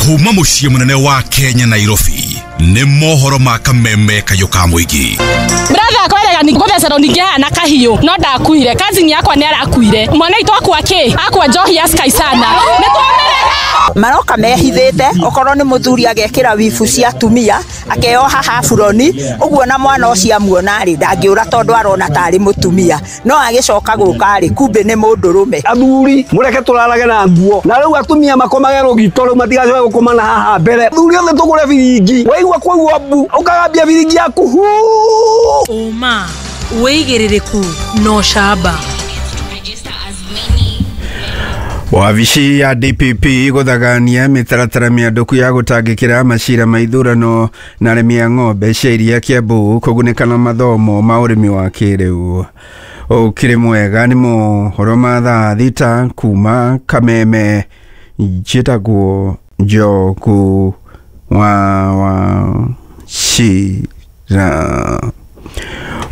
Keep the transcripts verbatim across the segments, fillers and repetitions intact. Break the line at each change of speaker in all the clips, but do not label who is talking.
Kuma muciĩ mũnene wa Kenya Nairobi nĩ mohoro ma kameme kayũ ka mũingĩ.
Brother akwerega ni gũthecerwo ningĩ haha na kahiũ no ndakuire, cousin yakwa nĩ arakuire, mwana witũ akua kĩ akua njohi ya Sky sana nĩ twamĩrega.
Maroka mehithĩte, okorwo nĩ mũthuri agekĩra wibu cia atumia akeoha haburoni ũguo, na mwana ũcio amuona rĩ ndangĩũra tondũ arona tarĩ mũtumia, no agĩcoka gũka rĩ kumbe nĩ mũndũrũme.
Athuri mũreke tũrarage na nguo, na rĩu atumia makomage rũgito rĩu matigacoke gũkoma na haha mbere. Athuri othe tũgũre biringi, waigua kũigua mbu ũkagambia biringi yaku huu.
Ũma wĩigĩrĩrĩku na ũcamba.
Wabici ya D P P gũthagania mĩtaratara mĩandũku ya gũtangĩkĩra macira ma ithurano na arĩmi a ng'ombe cia iria Kiambu kũgunĩka na mathomo ma ũrĩmi wa kĩrĩu. Ũkĩrĩ mwega nĩ mohoro ma thaa thita kuma Kameme. Njĩtagwo Njogu wa Wachira.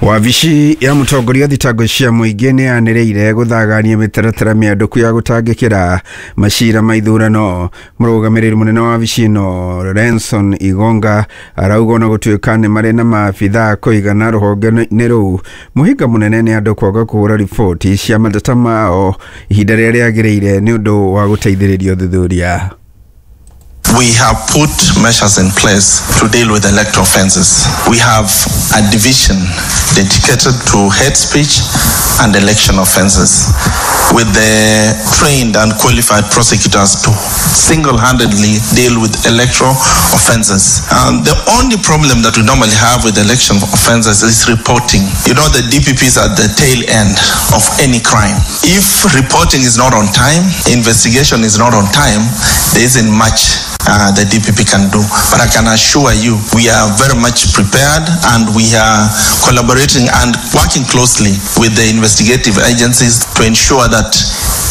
Wabici ya mũtongoria thitango cia mũingĩ nĩ yanĩrĩire gũthagania mĩtaratara mĩandũku ya gũtangĩkĩra macira ma ithurano. Mũrũgamĩrĩri mũnene wa wabici ĩno Renson Igonga arauga ona gũtuĩka nĩ marĩ na maabithaa kũigana rũhonge-inĩ rũu, mũhĩnga mũnene nĩ andũ kwaga kũhũra riboti cia mateta mao ihinda rĩrĩa rĩagĩrĩire nĩ ũndũ wa gũteithĩrĩria ũthuthuria.
We have put measures in place to deal with electoral offences. We have a division dedicated to hate speech and election offences, with the trained and qualified prosecutors to single-handedly deal with electoral offences. And the only problem that we normally have with election offences is reporting. You know, the D P P is at the tail end of any crime. If reporting is not on time, investigation is not on time, there isn't much Uh, the D P P can do. But I can assure you, we are very much prepared and we are collaborating and working closely with the investigative agencies to ensure that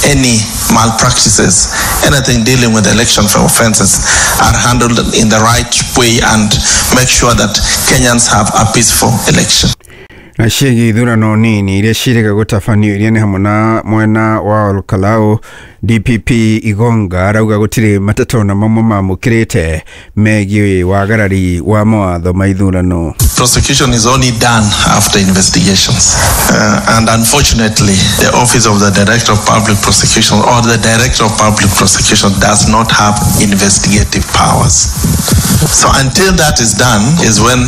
any malpractices, anything dealing with election offences are handled in the right way and make sure that Kenyans have a peaceful election.
Na ciĩgiĩ ithurano nini iria ciĩrĩga gũtabanio iria nĩ hamwe na mwena wa Olkalau, D P P Igonga arauga gũtirĩ mateta ona mamwe mamũkĩrĩte megiĩ wagarari wa mawatho ma ithurano.
Prosecution is only done after investigations. Uh, and unfortunately, the Office of the Director of Public Prosecution or the Director of Public Prosecution does not have investigative powers. So until that is done is when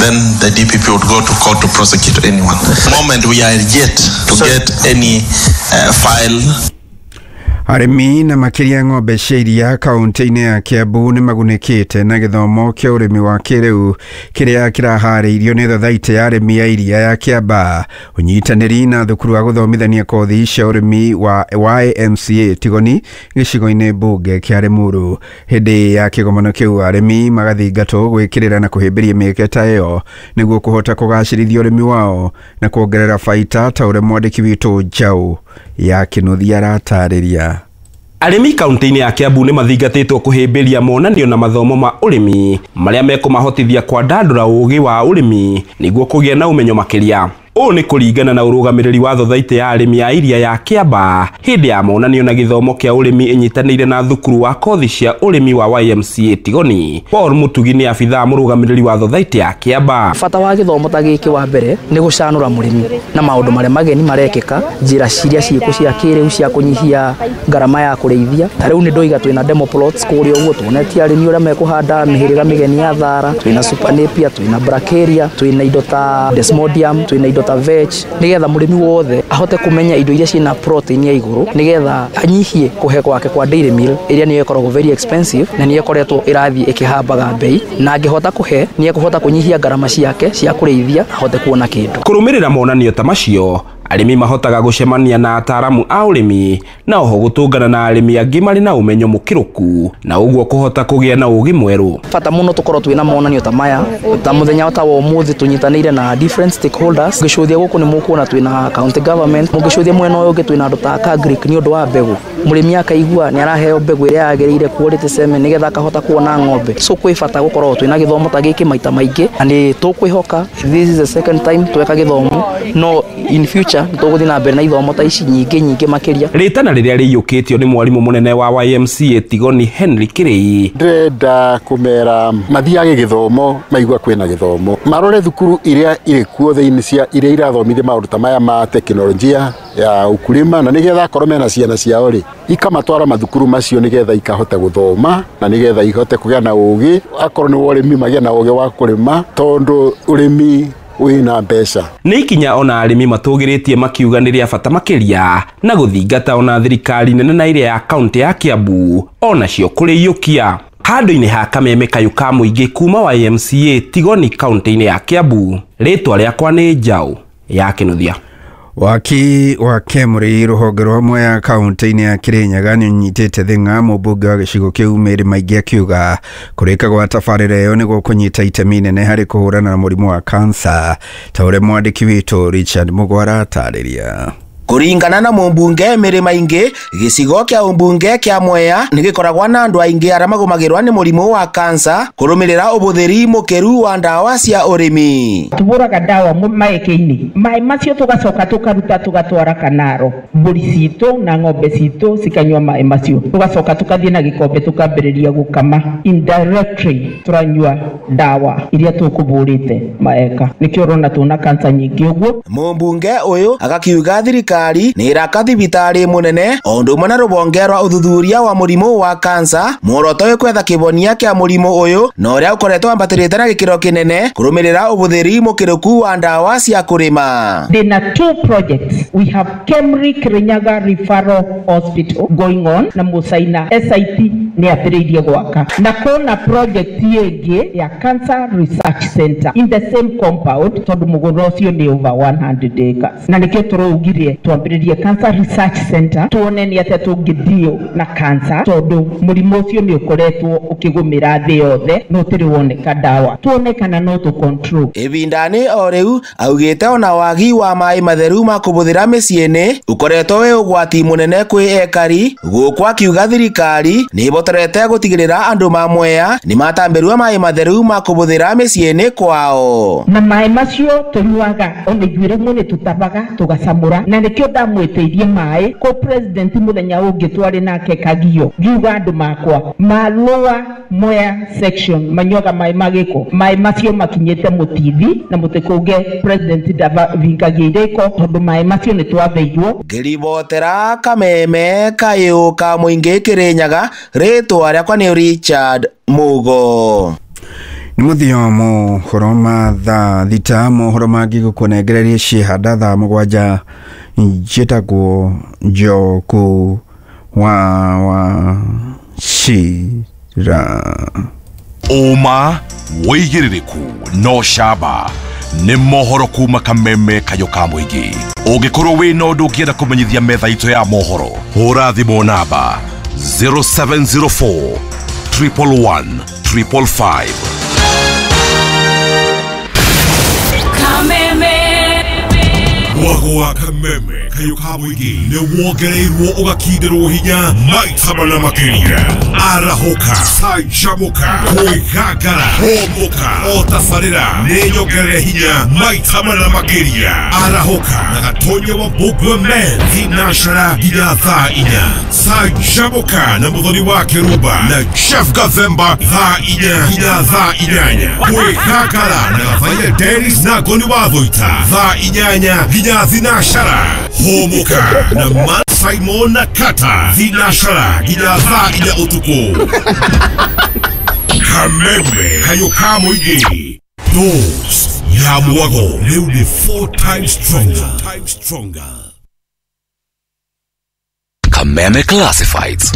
then the D P P would go to court to prosecute anyone. The moment we are yet to get any uh, file.
Arĩmi na makĩria ng'ombe cia iria kaũntĩ-inĩ ya Kiambu nĩ magunĩkĩte na gĩthomo kĩa ũrĩmi wa kĩrĩu kĩrĩa kĩraharĩirio nĩ thothaitĩ ya arĩmi a iria ya Kiambaa, ũnyitanĩri na thukuru wa gũthomithania kothi cia ũrĩmi wa Y M C A Tigoni gĩcigo-inĩ mbunge kĩa Limuru. Hĩndĩ ya kĩgomano kĩu arĩmi magathingatwo gwĩkĩrĩra na kũhĩmbĩria mĩeke ta ĩyo nĩguo kũhota kũgacĩrithia ũrĩmi wao na kuongerera baita ta ũrĩa mwandĩki witũ Njaũ ya Kĩnuthia aratarĩria.
Arĩmi kaunti-inĩ ya Kiambu nĩ mathingatĩtwo kũhĩmbĩria monanio na mathomo ma ũrĩmi marĩa mekũmahotithia kwandandũra ũũgĩ wa ũrĩmi nĩguo kũgĩa na ũmenyo makĩria. Ũũ nĩ kũringana na ũrũgamĩrĩri wa thothaitĩ ya arĩmi a iria ya Kiambaa hĩndĩ ya monanio na gĩthomo kĩa ũrĩmi ĩnyitanĩire na thukuru wa kothi cia ũrĩmi wa Y M C A Tigoni. Paul Mutugi nĩ abithaa mũrũgamĩrĩri wa thothaitĩ ya Kiambaa.
Bata wa gĩthomo ta gĩkĩ wa mbere nĩ gũcanũra mũrĩmi na maũndũ marĩa mageni marekĩka, njĩra ciria ciĩko cia kĩrĩu cia kũnyihia ngarama ya kũrĩithia. Ta rĩu nĩ ndoiga twĩna demo plots kũrĩa ũguo, tuonetie arĩmi ũrĩa mekũhanda mĩhĩrĩga mĩgeni ya thara, twĩna super napier, twĩna brachiaria, twĩna indo ta desmodium, twĩna indo ta veg, nigetha mũrĩmi wothe ahote kũmenya indo iria ciĩna protein ya igũrũ nigetha anyihie kũhe gwake kwa dairy meal ĩrĩa nĩyo ĩkoragwo very expensive na nĩyo ĩkoretwo ĩrathiĩ ĩkĩhambaga bei, na angĩhota kũhe nĩ ekũhota kũnyihia ngarama ciake cia kũrĩithia ahote kuona kĩndũ.
Kũrũmĩrĩra monanio ta macio arĩmi mahotaga gũcemania na ataaramu a ũrĩmi na oho gũtũngana na arĩmi angĩ marĩ na ũmenyo mũkĩrũku na ũguo kũhota kũgĩa na ũũgĩ mwerũ.
Bata mũno tũkorwo twĩna monanio ta maya ta mũthenya ta wa ũmũthĩ tũnyitanĩire na different stakeholders. Ngĩcũthia gũkũ nĩ mũkuona twĩna county government, mũngĩcũthia mwena ũyũ ũngĩ twĩna andũ ta Agric nĩ ũndũ wa mbegũ. Mũrĩmi akaigua nĩ araheo mbegũ ĩrĩa yagĩrĩire quality semen nĩgetha akahota kuona ng'ombe. So kwĩ bata gũkorwo twĩna gĩthomo ta gĩkĩ maita maingĩ na nĩ tũkwĩhoka this is the second time tweka gĩthomo No in future nĩ tũgũthiĩ na mbere na ithomo ta ici nyingĩ nyingĩ makĩria.
Rĩtana rĩrĩa rĩiyũkĩtio nĩ mwarimũ mũnene wa Y M C A Tigoni Henry Kirei.
Ndĩrenda kũmera mathiage gĩthomo, maigua kwĩna gĩthomo, marore thukuru iria irĩ kuo thĩinĩ cia iria irathomithia maũndũ ta maya ma teknolojia ya ukulima, na nĩgetha akorwo mena ciana ciao rĩ ikamatwara mathukuru macio nĩgetha ikahota gũthoma na nĩgetha ihote kũgĩa na ũgĩ, akorwo nĩ ũrĩmi magĩe na ũgĩ wa kũrĩma tondũ ũrĩmi wĩna mbeca.
Nĩ ikinya ona arĩmi matũgĩrĩtie makiuga nĩ rĩa bata makĩria na gũthingata ona thirikari nene na ĩrĩa ya kaunti ya Kiambu onacio kũrĩiyũkia. Handũ-inĩ ha Kameme kayũ ka mũingĩ kuma Y M C A Tigoni kaunti-inĩ ya Kiambu, rĩtwa rĩakwa nĩ Njaũ ya Kĩnuthia.
Waki wa Kemri rũhonge rwa Mwea kaunti-inĩ ya Kirinyaga nĩ ũnyitĩte thing'a mũmbunge wa gĩcigo kĩu Mary Maingĩ akiuga kũrĩka gwa tabarĩra ĩyo nĩ gũkũnyita itemi nene harĩ kũhũrana na mũrimũ wa kansa, ta ũrĩa mwandĩki witũ Richard Mũgwara atarĩria.
Kuringana na mumbunge Mary Maingi, gĩcigo kĩa umbunge kĩa Mwea nĩ gĩkoragwo na andũ aingĩ arĩa magũmagĩrwo nĩ mũrimũ wa kansa kũrũmĩrĩra ũbũthĩri mũkĩru wa ndawa cia ũrĩmi.
Tũbũraga ndawa maĩkĩ-inĩ, maĩ macio tũgacoka tũkaruta tũgatwara kanaro, mbũri citũ na ng'ombe citũ cikanyua maĩ macio, tũgacoka tũkathiĩ na gĩkombe tũkambĩrĩria gũkama. Indirectly tũranyua ndawa iria tũkũbũrĩte maeka, nĩkĩo ũrona tũna kansa nyingĩ ũguo.
Mũmbunge ũyũ agakiuga thirikari nĩ ĩraka thibitarĩ mũnene o ũndũ ũmwe na rũhonge rwa ũthuthuria wa mũrimũ wa kansa, muoroto wĩ kwetha kĩhonia kĩa mũrimũ ũyũ na ũrĩa ũkoretwo wambatĩrĩte na gĩkĩro kĩnene kũrũmĩrĩra ũbũthĩri mũkĩrũku wa ndawa cia kũrĩma.
Ndĩna two projects. We have Kemri Kirinyaga Referral Hospital going on na Musaina S I T nĩ ambĩrĩirie gwaka, na kũna project ĩngĩ ya Cancer Research Center in the same compound tondũ mũgũnda ũcio nĩ over one hundred acres, na nĩkĩo tũraugire twambĩrĩrie Cancer Research Center tuone nĩ atĩa tũngĩdeal na cancer tondũ mũrimũ ũcio nĩ ũkoretwo ũkĩgũmĩra thĩ yothe no ũtĩrĩ woneka ndawa, tuone kana no tũ control.
Ĩbindani o rĩu augĩte ona wagi wa maĩ matheru ma kũbũthĩra mĩciĩ-inĩ ũkoretwo wĩ ũgwati mũnene kwĩ ekari, gũkũ akiuga thirikari nĩ ĩbotorete gũtigĩrĩra andũ ma Mwea nĩ matambĩrwo maĩ matheru ma kũbũthĩra mĩciĩ-inĩ kwao.
Na maĩ macio tũnyuaga ona ithuĩ rĩmwe nĩ tũtabaga tũgacamũra, na nĩkĩo ndamwĩtĩirie maĩ kũ president mũthenya ũngĩ twarĩ nake Kagio, ngiuga andũ makwa ma Lower Mwea section manyuaga maĩ ma gĩko, maĩ macio makinyĩte mũtithi na mũtĩkũnge president ndavingagia irĩko tondũ maĩ macio nĩ twatheirwo.
Ngĩribotera Kameme kayũ ka mũingĩ Kĩrĩnyaga, rĩtwa rĩakwa nĩ Richard Mugo.
Nĩ mũthio mohoro ma thaa thita, mohoro mangĩ gũkũnengereria ciĩhanda thaa mũgwanja. Njĩtagwo Njoku wa wa Cira.
Ũma wĩigĩrĩrĩku no camba nĩ mohoro kuma Kameme kayũ ka mũingĩ. Ũngĩkorwo wĩna ũndũ ũngĩenda kũmenyithia metha itũ ya mohoro, hũra thimũ namba zero seven zero four triple one triple five.
Kameme
Mwago wa Kameme kayũ ka mũingĩ nĩ wongereirwo ũgakindĩrwo hinya maita mana makĩria. Arahũka, canjamũka, kwĩgangara, hũmũka, o tabarĩra nĩ nyongerere hinya maita mana makĩria. Arahũka na Gatonya wa Mbũgua Men thinacara nginya thaa inya. Canjamũka na Mũthoni wa Kĩrumba na Jeff Gathemba thaa inya nginya thaa inyanya. Kwĩgangara na Gathaia Dennis na Ngoni wa Thũita thaa inyanya nginya thinacara. Hũmũka na Man Simon na Kata thinacara nginya thaa inya ũtukũ. Kameme kayũ ka mũingĩ, dose ya mwago rĩu nĩ four times stronger.
Kameme Classifieds.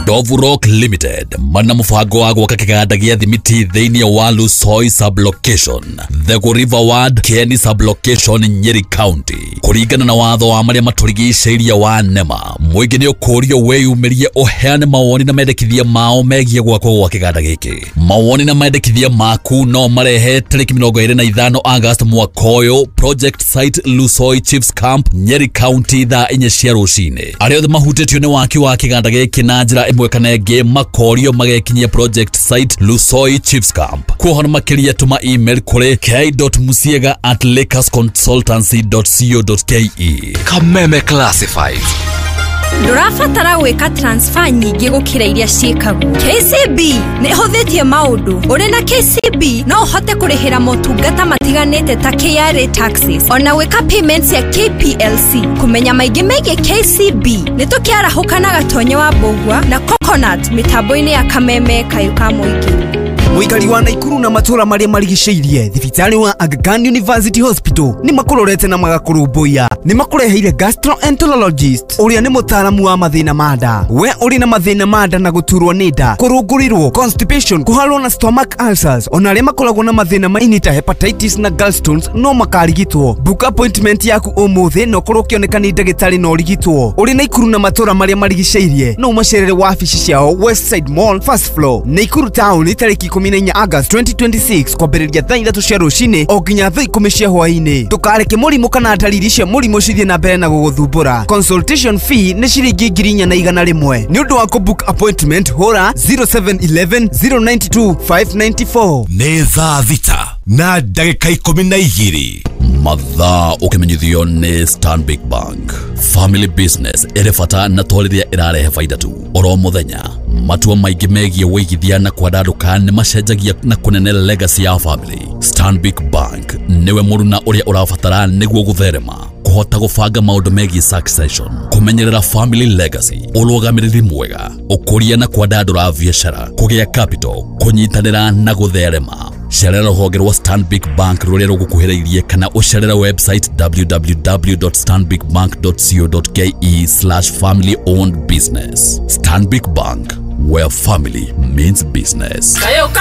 Ndovu Rock Limited mana mũbango wa gwaka kĩganda gĩa thimiti thĩinĩ wa Lusoi sublocation, Thegu River Ward, Kieni sublocation, Nyeri County. Kũringana na watho wa marĩa matũrigicĩirie wa NEMA, mũingĩ nĩ ũkũrio wĩyumĩrie ũheane mawoni na mendekithia mao megiĩ gwakwo gwa kĩganda gĩkĩ. Mawoni na mendekithia maku no marehe tarĩki mĩrongo ĩrĩ na ithano August mwaka ũyũ, project site Lusoi Chiefs Camp, Nyeri County, thaa inya cia rũcinĩ. Arĩa othe mahutĩtio nĩ waki wa kĩganda gĩkĩ na njĩra ĩmwe kana ĩngĩ makorio magekinyia project site Lusoi Chiefs Camp. Kuohana makĩria tũma email kũrĩ k dot musiega at lakers consultancy dot co dot ke.
Kameme Classifieds.
Ndũrabatara gwĩka transfer nyingĩ gũkĩra iria ciĩkagwo. K C B nĩ ĩhũthĩtie maũndũ. Ũrĩ na K C B no ũhote kũrĩhĩra motungata matiganĩte ta K R A taxes, ona gwĩka payments ya K P L C. Kũmenya maingĩ megiĩ K C B nĩ tũkĩarahũka na Gatonye wa Mbũgua na Coconut mĩtambo-inĩ ya Kameme Kayũ ka Mũingĩ.
Mũikari wa Naikuru na matũra marĩa marigicĩirie thibitarĩ wa Aga Khan University Hospital nĩ makũrorete na magakũrũmbũiya. Nĩ makũreheire gastroenterologist ũrĩa nĩ mũtaaramu wa mathĩna ma nda. We ũrĩ na mathĩna ma nda na gũturwo nĩ nda, kũrũngũrĩrwo, constipation, kũharwo na stomach ulcers, ona arĩa makoragwo na mathĩna ma ini ta hepatitis na gallstones no makarigitwo. Book appointment yaku ũmũthĩ na ũkorwo ũkĩoneka nĩ ndagĩtarĩ na ũrigitwo. Ũrĩ Naikuru na matũra marĩa marigicĩirie no ũmacerere wabici ciao Westside Mall first floor, Naikuru town, tarĩki ikũmi na inya August twenty twenty-six kwambĩrĩria thaa ithatũ cia rũcinĩ o nginya thaa ikũmi cia hwaĩ-inĩ. Ndũkareke mũrimũ kana ndariri cia mũrimũ cithiĩ na mbere na gũgũthumbũra. Consultation fee nĩ ciringi ngiri inya na igana rĩmwe. Nĩ ũndũ wa kũbook appointment hũra zero seven eleven zero nine two five nine four.
Nĩ thaa thita na ndagĩka ikũmi na igĩrĩ.
Mathaa ũkĩmenyithio nĩ Stanbic Bank. Family business ĩrĩ bata na to rĩrĩa ĩrarehe baida tu. Oro mũthenya matua maingĩ megiĩ wĩigithia na kwandandũka nĩ macenjagia na kũnene legacy ya family. Stanbic Bank nĩwe mũruna ũrĩa ũrabatara nĩguo gũtherema, kũhota gũbanga maũndũ megiĩ succession, kũmenyerera family legacy, ũrũgamĩrĩri mwega, ũkũria na kwandandũra biacara, kũgĩa capital, kũnyitanĩra na gũtherema. Cerera rũhonge rwa Stanbic Bank rũrĩa rũgũkuhĩrĩirie kana ũcerere website w w w dot stanbic bank dot co dot k e slash family owned business. Stanbic Bank, where family means business.
Kayuka